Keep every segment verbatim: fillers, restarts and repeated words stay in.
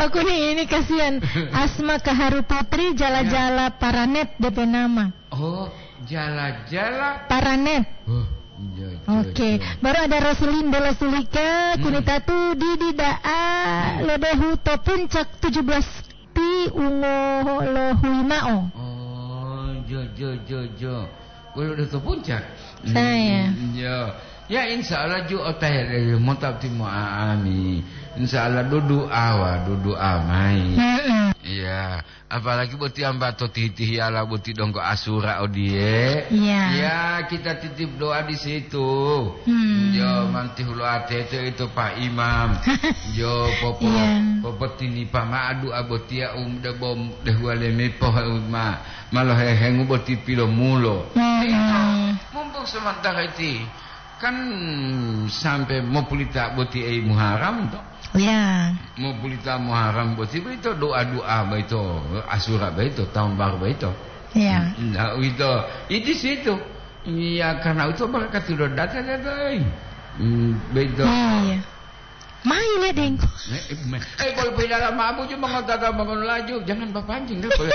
Aku nih ini kasihan. Asma Kaharu Putri, Jala-Jala Paranet D P nama. Oh, Jala-Jala. Paranet. Oh, iya, iya, Oke, iya. Baru ada Roselin Bella Sulika, Hmm. Kunitatu, Didi Da'a, Lodohu to Puncak tujuh belas pi ungo lohui ma'o. Oh, jo, jo, jo, jo. Kulo do to Puncak. Saya. Hmm, iya. Ya, insya Allah ju otahe mota timo aami. Insya Allah dudu awa, dudu amai. Mm-mm. Iya. Apalagi boti amba to tihi-tihiyala boti donggo asura odiye. Iya. Ya, kita titip doa di situ. Hmm. Yo, mantihulo atete itu Pak Imam. Yo, popo, Iya. Popotinipa ma'o doa botiya um debo dehuwale mepo ma, malohehengu boti pilomulo. Hmm. Mumpung sementara iti, kan sampai mopulita boti ei Muharram to. Iya. Mopulita Muharram boti boyito doa-doa boyito, asura boyito, tahun baru boyito. Iya. Nah, uwito, iti situ. Iya, karena itu berkat sudah datang, datang, eh. Hmm, boyito. Iya. Mai le dengko. Eh, eh, me-, eh, kalau pindah lama abu cuma ngotata bangun laju, jangan bapancing dah, boleh.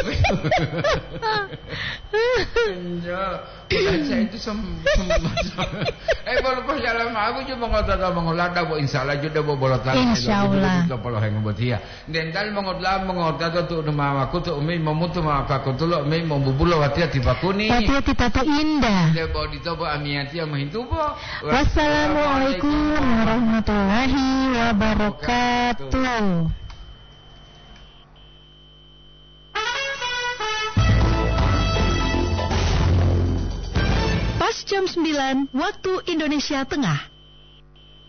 Iya. Bukan saya itu sem-, sem-, eh, bolo po jalan ma'o, ju mongotata mongolada, bo, insya Allah, ju debo bolo tali, Insya Allah. Ju polo hengo botiya. Dental mongotla, mongotata tu mama kutu umi momutu mama pakutulo umi mombubulo watiya tipakuni. Watiya tipato indah. Debo ditobo amiyatiya mohintubo. Wassalamualaikum warahmatullahi wabarakatuh. Pas jam sembilan waktu Indonesia Tengah.